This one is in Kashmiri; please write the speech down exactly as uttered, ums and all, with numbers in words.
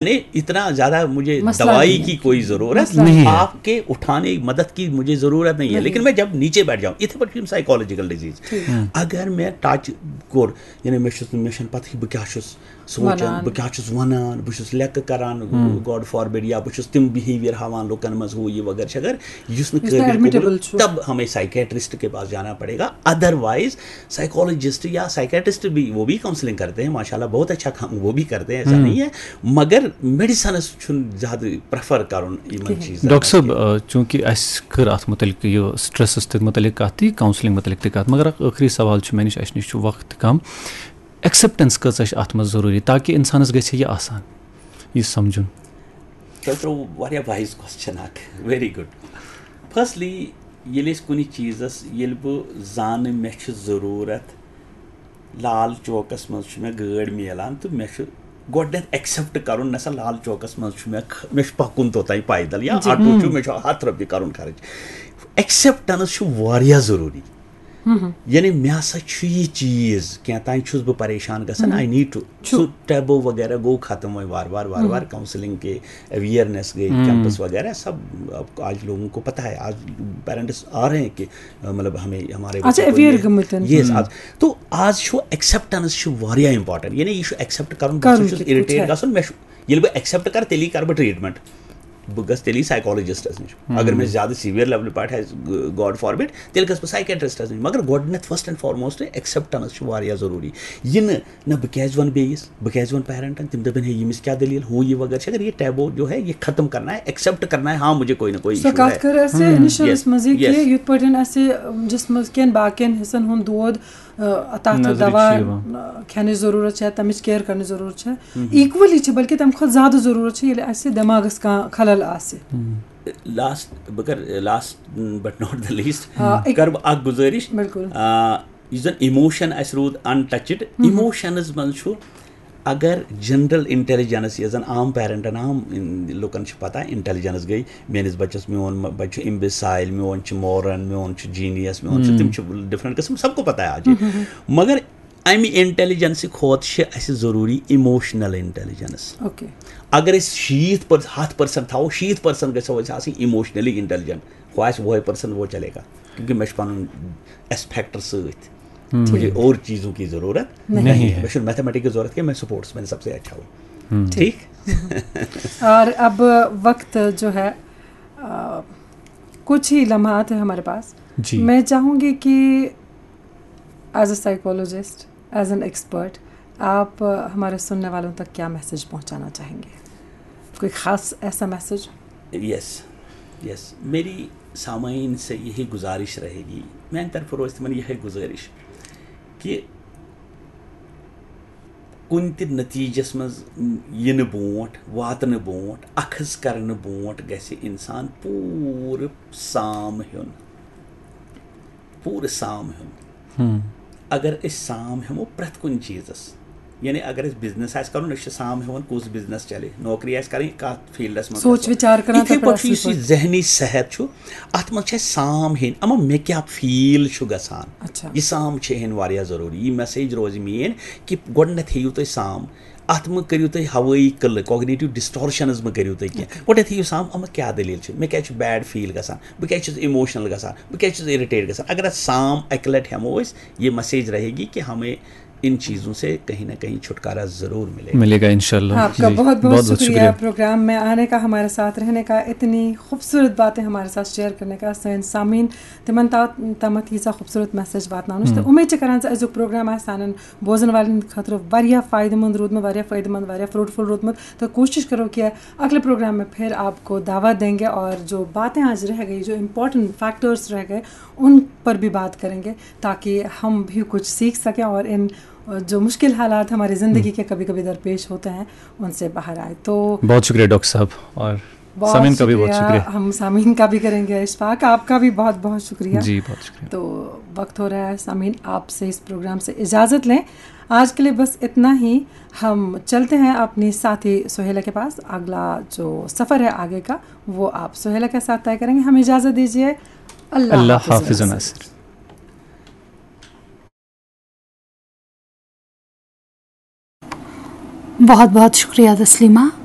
یعنی اتنا زیادہ مجھے مسئلہ دوائی نہیں ہے۔ کی کوئی ضرورت مسئلہ نہیں ہے۔ آپ کے اٹھانے مدد کی مجھے ضرورت نہیں ہے، نہیں۔ لیکن میں جب نیچے بیٹھ جاؤں، اتھے پٲٹھۍ چھِ یِم سائیکالوجیکل ڈیزیز۔ اگر مےٚ ٹچ کوٚر، یعنی مےٚ چھُس نہٕ، مےٚ چھَنہٕ پَتہٕے بہٕ کیٛاہ چھُس سونٛچان، وَنان۔ بہٕ کیٛاہ چھُس وَنان، بہٕ چھُس لیٚکہٕ کَران، گاڈ فاربِڈ، یا بہٕ چھُس تِم بِہیویَر ہاوان لُکَن منٛز، ہُہ یہِ وغٲرٕ چھِ، اگر یُس نہٕ یُس نہٕ قٲبِل ایڈمِٹیبل قبوٗل، چھُ۔ تب ہمیں سائیکیٹرسٹ کے پاس جانا پڑے گا۔ ادروائز سائیکالوجسٹ یا سائیکیٹرسٹ بھی، وہ بھی کاؤنسلنگ کرتے ہیں، ماشاءاللہ بہت اچھا کام وہ بھی کرتے ہیں، ایسا نہیں ہے، مگر میڈیسنس چھُنہٕ زیادٕ پریفر کرُن یِمن کِہیٖنۍ۔ چیٖزن ڈاکٹر منٛز صٲب، کینٛہہ۔ آ، چوٗنٛکہِ اَسہِ کٔر اَتھ مُتعلِق یہِ سٹریسَس تہِ مُتعلِق کَتھ تہِ، کاؤنسلنگ مُتعلِق تہِ کَتھ، مگر اَکھ ٲخری سوال چھُ مےٚ نِش، اَسہِ نِش چھُ وقت تہِ کَم، ایکسیپٹنس کۭژاہ چھِ اَتھ منٛز ضروٗری تاکہِ اِنسانَس گژھِ یہِ آسان، یہِ سَمجھُن؟ تۄہہِ ترٛوو واریاہ وایِز کوسچن اکھ، ویری گُڈ۔ فرسٹلی، ییٚلہِ أسۍ کُنہِ چیٖزس، ییٚلہِ بہٕ زانہٕ مےٚ چھِ ضروٗرت، لال چوکس منٛز چھُ مےٚ گٲڑۍ میلان تہٕ مےٚ چھُ گۄڈٕنٮ۪تھ ایکسیپٹ کرُن، نہ سا لال چوکس منٛز چھُ مےٚ خ-، مےٚ چھُ پکُن توٚتام پیدل یا جی۔ آٹو چھُ، مےٚ چھُ ہتھ رۄپیہِ کرُن خرٕچ۔ ایکسیپٹنس چھُ واریاہ ضروٗری۔ یعنی مےٚ ہسا چھُ یہِ چیٖز، کینٛہہ تام چھُس بہٕ پریشان گژھان، آئی نیڈ ٹو، چھُ۔ سُہ ٹیبو وغیرہ گوٚو ختم وۄنۍ وارٕ وارٕ وارٕ وارٕ، کاؤنسلنگ کے، اویئرنیس گٔے، کیمپس وغیرہ سب، اب آج لوگوں کو پتہ ہے، آج پیرنٹس آ رہے ہیں کہ، آ، مطلب ہمیں ہمارے اچھا، بچوں کو اویئر یہ، گٔمٕتۍ۔ یس، آز تو آز چھُ ایکسیپٹنس چھُ واریاہ امپورٹنٹ، یعنی یہِ چھُ ایکسیپٹ کرُن، بہٕ کرُن ہسا چھُس کِتھ پٲٹھۍ اِرِٹیٹ چھُ؟ گژھُن، مےٚ چھُ، ییٚلہِ بہٕ ایکسیپٹ کرٕ، تیٚلی کرٕ بہٕ ٹریٹمنٹ۔ بہٕ گژھٕ تیٚلی سایکالوجسٹس نِش۔ اگر مےٚ زیادٕ سیویئر لیولہِ پٮ۪ٹھ آسہِ، گاڈ فاربِڈ، تیٚلہِ گژھٕ بہٕ سایکیٹرسٹس نِش۔ مگر گۄڈٕنٮ۪تھ، فرسٹ اینڈ فارموسٹ، ایکسیپٹنس چھُ واریاہ ضروٗری۔ یہِ نہٕ، نہ بہٕ کیازِ وَنہٕ بیٚیِس، بہٕ کیازِ وَنہٕ پیرنٹن، تِم دَپن ہے ییٚمِس کیٛاہ دٔلیٖل، ہُہ یہِ وغٲرٕ چھِ۔ اگر یہِ ٹیبو جو ہے، یہ ختم کرنا ہے، ایکسیپٹ کرنا ہے، ہاں مجھے کوئی نہ کوئی سۄ ایشو ہے۔ کتھ کٔر اَسہِ انیشلس منٛزٕے کہِ یس۔ یِتھ پٲٹھۍ اَسہِ جسمس کٮ۪ن باقین حصن ہُنٛد دود، آ، تتھ نظرِ دوا، چھِ یِوان۔ آ، کھٮ۪نٕچ ضروٗرت چھےٚ، تمِچ کیر کرنٕچ ضروٗرت چھےٚ، ایکولی چھِ، بلکہِ تمہِ کھۄتہٕ زیادٕ ضروٗرت چھِ ییٚلہِ اَسہِ دٮ۪ماغس کانٛہہ خلل آسہِ۔ لاسٹ، بہٕ کرٕ last Bhat not the least, آ، أکۍ- کرٕ بہٕ اکھ گُزٲرِش۔ بِلکُل۔ آ، یُس زن ایموشن اَسہِ روٗد انٹچڈ، ایموشنز منٛز چھُ، اگر جنرل انٹیلیجنس، یۄس زن عام پیرنٹن، عام ان-، لُکن چھِ پتہ، انٹیلیجنس گٔے میٲنِس بچس، میون م-، بچہِ چھُ امبیسایل، میون چھُ مورن، میون چھُ جینیس، میون چھُ، تِم چھِ ڈفرنٹ قسم، سب کو پتہ ہے آج۔ مگر امہِ انٹیلیجنس کھۄتہٕ چھِ اَسہِ ضروٗری ایموشنل انٹیلیجنس۔ اوکے۔ اگر أسۍ شیٖتھ پر-، ہَتھ پٔرسنٹ تھاوو، شیٖتھ پٔرسنٹ گژھو أسۍ آسٕنۍ ایموشنلی انٹیلیجنٹ، خواہ آسہِ وُہے پرسنٹ وہ چلے گا، کیونکہ مےٚ چھُ پنُن ایسپیکٹر سۭتۍ، مجھے اور چیزوں کی ضرورت نہیں۔ نہیں ہے۔ مےٚ چھُنہٕ میتھمیٹک کی ضرورت کینٛہہ، میں سپورٹس، میں نے سب سے اچھا ہوں۔ ٹھیک۔ اور اب وقت جو ہے، آ، کچھ ہی لمحات ہیں ہمارے پاس۔ جی۔ میں چاہوں گی کہ as a psychologist, as an expert, آپ ہمارے سننے والوں تک کیا میسج پہنچانا چاہیں گے؟ کوئی خاص ایسا میسج؟ یس، یس، میری سامعین سے یہی گزارش رہے گی، میانہِ طرفہٕ روزِ تِمن یِہے گزارش کہِ کُنہِ تہِ نتیٖجس منٛز یِنہٕ برونٛٹھ، واتنہٕ برونٛٹھ، اخذ کرنہٕ برونٛٹھ گژھِ انسان پوٗرٕ سام ہیوٚن، پوٗرٕ سام ہیوٚن۔ اگر أسۍ سام ہیمو پرٛٮ۪تھ کُنہِ چیٖزس، یعنی اگر اَسہِ بزنس آسہِ کرُن، أسۍ چھِ سام ہیوان کُس بزنس چلہِ، نوکری آسہِ کرٕنۍ کتھ فیلڈس منٛز سوچ گژھو۔ وچار کران یِتھے تہٕ پٲٹھۍ چھُ پرٛٮ۪تھ یُس یہِ ذہنی صحت چھُ، اتھ منٛز چھِ اَسہِ سام ہیٚنۍ، اما مےٚ کیٛاہ فیل چھُ گژھان، اچھا۔ یہِ سام چھِ ہیٚنۍ واریاہ ضروٗری۔ یہِ میسیج روزِ میٲنۍ کہِ گۄڈٕنٮ۪تھ ہیٚیِو تُہۍ سام، اتھ مہ کٔرِو تُہۍ ہوٲیی قلعہٕ، کوگنیٹو ڈسٹورشنز مہ کٔرِو تُہۍ کینٛہہ۔ گۄڈٕنٮ۪تھ ہیٚیِو سام، اما کیٛاہ دٔلیٖل چھِ، مےٚ کیٛازِ چھُ بیڈ فیل گژھان، بہٕ کیٛازِ چھُس ایموشنل گژھان، بہٕ کیٛازِ چھُس اِرِٹیٹ گژھان۔ اگر اتھ سام اکہِ لٹہِ ہیٚمو أسۍ، یہِ میسیج رہے گی کہ ہمیں ان چیزوں سے کہیں نہ کہیں چھٹکارا ضرور ملے گا۔ ملے گا انشاءاللہ۔ آپ کا جی، بہت بہت شکریہ پروگرام میں آنے کا، ہمارے ساتھ رہنے کا، اتنی خوبصورت باتیں ہمارے ساتھ شیئر کرنے کا۔ سٲنۍ سامعیٖن، تِمن تا-، تامَتھ ییٖژاہ خوٗبصوٗرت میسیج واتناونٕچ۔ تہٕ اُمید چھِ کران زِ أزیُک پروگرام آسہِ سانٮ۪ن بوزن والٮ۪ن ہٕنٛدِ خٲطرٕ واریاہ فٲیدٕ مند روٗدمُت، واریاہ فٲیدٕ مند، واریاہ فروٹفل روٗدمُت۔ تو کوٗشِش کرو کہ اگلے پروگرام میں پھر آپ کو دعوت دیں گے اور جو باتیں آج رہ گئی، جو امپورٹنٹ فیکٹرز رہ گئے، ان پر بھی بات کریں گے، تاکہ ہم بھی کچھ سیکھ سکیں اور ان جو مشکل حالات ہماری زندگی کے کبھی کبھی درپیش ہوتے ہیں، ان سے باہر آئے۔ تو بہت شکریہ ڈاکٹر صاحب، اور بہت سامعین کا بھی بہت شکریہ۔ شکریہ۔ ہم سامعین کا بھی کریں گے اشفاق، آپ کا بھی بہت بہت شکریہ۔ جی، بہت شکریہ۔ تو وقت ہو رہا ہے سامعین، آپ سے اس پروگرام سے اجازت لیں۔ آج کے لیے بس اتنا ہی۔ ہم چلتے ہیں اپنی ساتھی سہیلا کے پاس۔ اگلا جو سفر ہے آگے کا، وہ آپ سہیلا کے ساتھ طے کریں گے۔ ہمیں اجازت دیجیے۔ اللہ اللہ حافظ۔ حافظ ناصر۔ بہت بہت شکریہ تسلیمہ،